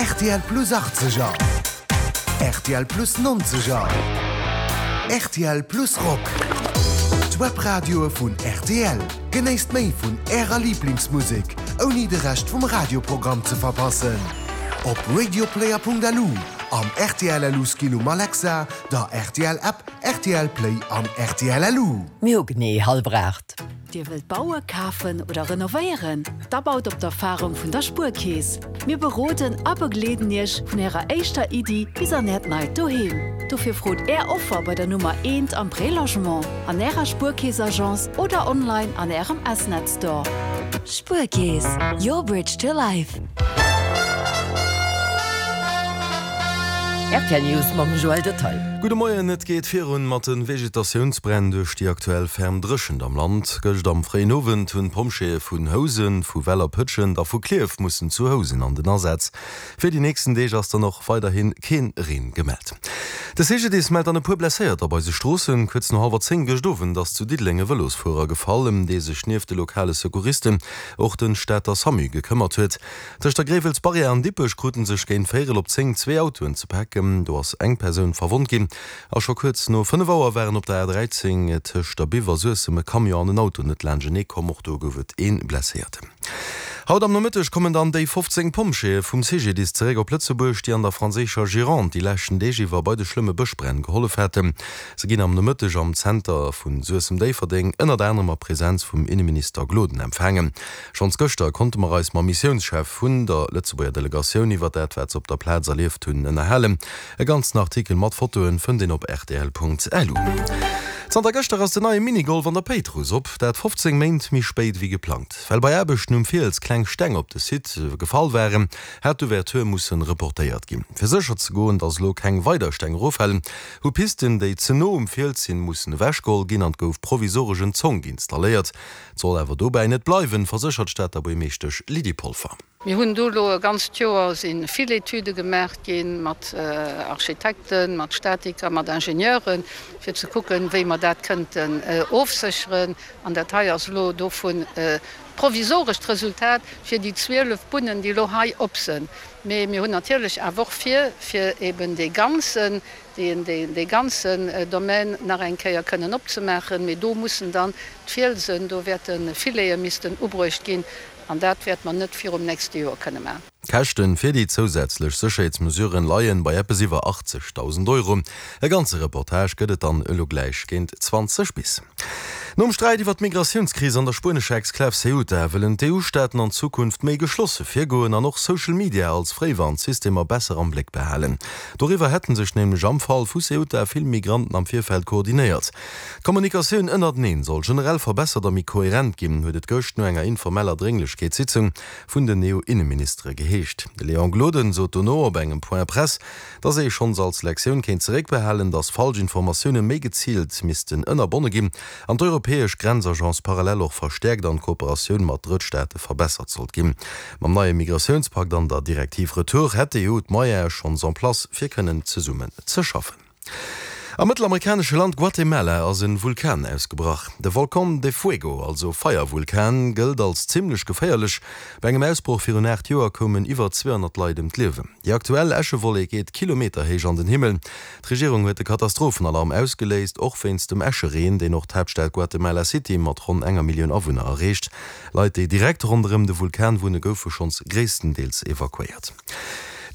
Rtl Plus 80er, rtl Plus 90er, rtl Plus Rock. D'Webradioe vun rtl. Genéisst méi vun Ärer Liblingsmusek, ouni de Rescht vum Radioprogramm ze verpassen. Op radioplayer.lu, am rtl LU Skill um Alexa, der rtl App, rtl Play an rtl LU. Mir hu genee hallwer 8. Dir wëllt bauen, kafen oder renovéieren? Da baut op d'Erfarung vun der Spuerkeess. Mir beroden a begleeden Iech vun Ärer éischter Iddi bis an Äert neit Doheem. Dofir frot Är Offer bei der Nummer eent am Prélogement, an Ärer Spuerkeess-Agence oder online an Ärem S-Net Store. Spuerkeess, your bridge to life. Rtl News mam Joël Detaille. Gudde Moien, Et geet virun mat de Vegetatiounsbränn duerch déi aktuell ferm Dréchent am Land. Gëscht am fréien Owend hunn d'Pompjeeë vun Housen, vu Weller-Pëtschent a vu Klierf mussen zu Housen an den Asaz. Fir déi nächsten Deeg ass dann och weiderhi keen Reen gemellt. De CGDIS mellt an e puer Blesséierter op eise Stroossen. Kuerz no hallwer 10 gëscht Owend ass zu Diddeleng e Vëlosfuerer gefall, ëm dee sech nieft de lokale Secouristen och de Stater Samu gekëmmert huet. Tëscht der Gréiwels-Barrière an Dippech kruten sech géint véierel op 10 zwee Autoen ze paken. Do ass eng Persoun verwonnt ginn. A scho kuerz no 5 Auer waren op der A13 tëscht der Biff a Suessem e Camion an en Auto net laanschtenee komm. Och do gouf et ee Blesséierten. Haut am Nomëtteg kommen dann déi 15 Pompjeeë vum CGDIS zeréck op Lëtzebuerg, déi an der franséischer Gironde déi leschten Deeg iwwer bei de schlëmme Bëschbränn gehollef haten. Se ginn am Nomëtteg am Zenter vu Suessem-Déifferdeng ënnert anerem a Presenz vum Inneminister Gloden empfaangen. Schonns gëschter konnte mer eis mam Missiounschef vun der Lëtzebuerger Delegatioun iwwer dat wat se op der Plaz erlieft hunn ënnerhalen. E ganzen Artikel mat Fotoen fënnt een op rtl.lu. Zanter gëschter ass den neie Minigolf an der Péitruss op, dat 15 Méint méi spéit ewéi geplangt. Well bei Aarbechten um Fiels kleng Steng op de Site gefall waren, hat d'Ouverture mussen reportéiert ginn. Fir sécher ze goen, dass elo keng weider Steng eroffalen, hu Pisten, déi ze no um Fiels sinn, mussen ewechgeholl ginn an 't gouf provisoresch en Zonk installéiert. Et soll awer dobäi net bleiwen, verséchert d'Stater Buergmeeschtesch Lydie Polfer. Mir hunn do elo e ganzt Joer si vill Etüde gemaach gi mat Architekten, mat Statiker, mat Ingenieuren, fir ze kucken, wéi mer dat kënnten ofsécheren. An dat hei ass elo dovun d'provisorescht Resultat fir déi 12 Bunnen, déi elo hei op sinn. Mee mir hunn natierlech awer och vir, fir eben dee ganzen dee ganzen Domaine nach eng Kéier kënnen opzemaachen, mee do mussen dann d'Fielsen, do wäerte Filete missten ubruecht ginn an dat wäerte mer net virum nächste Joer kënne maachen. D'Käschten fir déi zousätzlech Sécherheetsmesuren leien bei eppes iwwer 80.000 Euro. E ganze Reportage gëtt et dann elo gläich géint 20 bis. Nom Sträit iwwer d'Migratiounskris an der spuenescher Exklav Ceuta wëllen d'EU-Staaten an Zukunft méi geschlosse virgoen an och Social Media als Fréiwarnsystemer besser am Bléck behalen. Doriwwer hätte sech nämlech am Fall vu Ceuta vill Migranten am Virfeld koordinéiert. D'Kommunikatioun ënnerteneen soll generell verbessert a méi koherent ginn, huet et gëscht no enger informeller Drénglechkeetssitzung vun den EU-Inneministere geheescht. De Léon Gloden sot dono op engem Point Presse, Dass ee schonns als Lektioun kéint zeréckbehalen, dass falsch Informatioune méi geziilt missten ënnerbonne ginn an d'europäesch Grenzagence parallel och verstäerkt an d'Kooperatioun mat Drëttstaate verbessert sollt ginn. Mam neie Migratiounspakt an der Direktiv Retour hätt d'EU d'Moyene schonns en place fir kënnen zesummen ze schaffen. Am mëttelamerikanesche Land Guatemala ass en Vulkan ausgebrach. De Volcán de Fuego, also Feiervulkan, gëllt als zimmlech geféierlech. Bei engem Ausbroch virun 8 Joer koumen iwwer 200 Leit ëm d'Liewen. Déi aktuell Äschewollek geet kilometerhéich an den Himmel. D'Regierung huet de Katastrophenalarm ausgeléist, och wéinst dem Äschereen, deen och d'Haaptstad Guatemala City mat ronn enger Millioun Awunner erreecht. Leit, déi direkt ronderëm de Vulkan wunne goufe schonns gréisstendeels evakuéiert.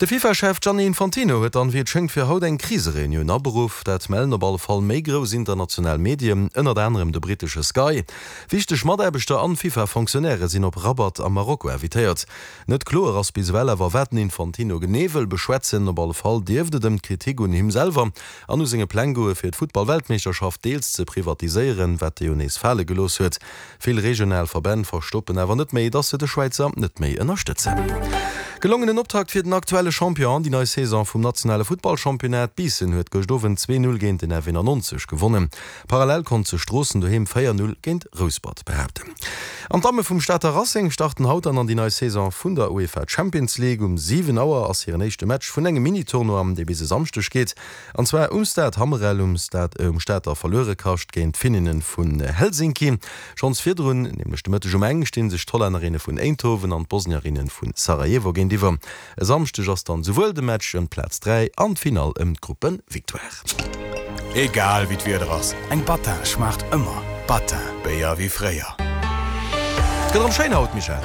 De FIFA-Chef Gianni Infantino huet dann, wéi et schéngt, fir haut eng Krisereunioun aberuff. Dat mellen op alle Fall méi grouss international Medien, ënnert anerem de brittesche Sky. Wichteg Mataarbechter an FIFA-Fonctionnairë sinn op Rabat a Marokko invitéiert. Net kloer ass bis ewell awer, wat den Infantino genee wëll beschwätzen. Op alle Fall dierft et ëm d'Kritik un him selwer an u senge Pläng goe fir d'Futtball-Weltmeeschterschaft deels ze privatiséieren, wat e jo nees fale gelooss huet. Vill regional Verbänn verstoppen awer net méi, dass se de Schwäizer net méi ënnerstëtzen. Gelongenen Optakt fir den aktuelle Champion an déi nei Saison vum nationale Futtballchampionnat. Biissen huet gëscht Owend 2, 0 géint den F91 gewonnen. Parallel konnt sech Stroossen doheem 4, 0 géint Rouspert behaapten. An d'Damme vum Stater Racing starten haut dann an déi nei Saison vun der UEFA Champions League. Um 7 Auer ass hiren éischte Match vun engem Mini-Tournoi, dee bis e Samschdeg geet. An zwar um Stade Hammerel um Stade um Stater Verluerekascht géint d'Finninnen vun Helsinki. Schonns virdrun, nämlech de Mëtteg um eng, sti sech d'Hollännerinne vun Eindhoven an d'Bosnierinne vu Sarajevo géintiwwer. géintiwwer. E Samschdeg ass dann souwuel de Match ëm d'Plaz 3 an d'Finall ëm d'Gruppe-Victoire. Egal wéi d'Wieder ass, eng Battin schmaacht ëmmer. Battin, Béier wéi fréier. Et gëtt erëm schéin haut, Michèle.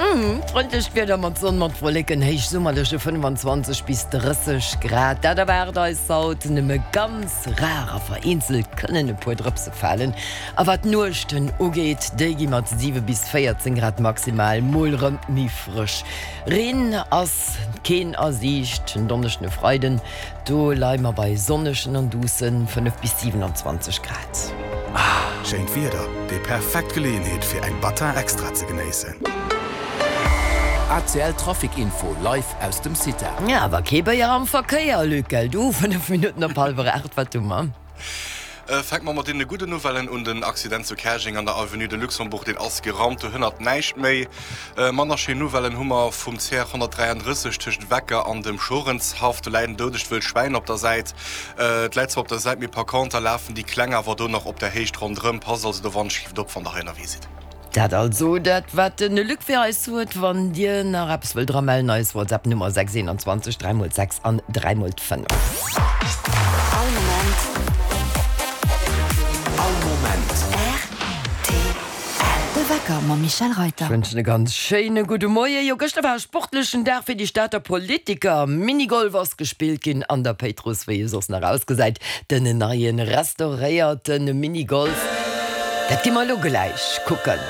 Frëndlecht Wieder mat Sonn, mat Wolleken, héichsummerleche 25 bis 30 Grad, dat erwaart eis haut. Nëmme ganz rar a vereenzelt kënnen e puer Drëpse falen. A wat d'Nuechten ugeet, déi gi mat 7 bis 14 Grad maximal mol rëm méi frësch. Reen ass keen a Siicht. En Donneschden e Freiden, do leie mer bei sonnegen an duusse 5 bis 27 Grad. Schéint Wieder, déi perfekt Geleeënheet fir eng Battin Extra ze genéissen. ACL Trafic Info live aus dem CITA. Awer kee Béier am Verkéier, Luc, gell du? 5 Minutten op hallwer 8, wat hu mer? Fänke mer mat deene gudden Nouvellen un. Den Accident zu Käerjeng an der Avenue de Luxembourg, deen ass gerammt, do hënnert näischt méi. Manner schéin Nouvellen hu mer vum CR 133 tëscht Wecker an dem Schorenshaff. Do läit en doudegt wëllt Schwäin op der Säit. Et läit zwar op der Säit, mee par conter lafen déi Kleng awer do nach op der Héicht ronderëm. Passt also do wannschgift op, wann der hei ënnerwee sidd. Dat also dat wat den Luc fir eis huet. Wann dir nach eppes wëllt dra mellen, eis WhatsApp Nummer 6 21 3 mol 6 an 3 mol 5. All Moment. All Moment. Rtl. De Wecker mam Michèle Reyter. Ech wënschen e ganz schéine gudde Moien. Jo, gëschter war e sportlechen Dag fir déi Stater Politiker. Minigolf ass gespillt ginn an der Péitruss, wéi e soss nach ausgesäit. Den neien restauréierte Minigolf, dat gi mer elo gläich kucken.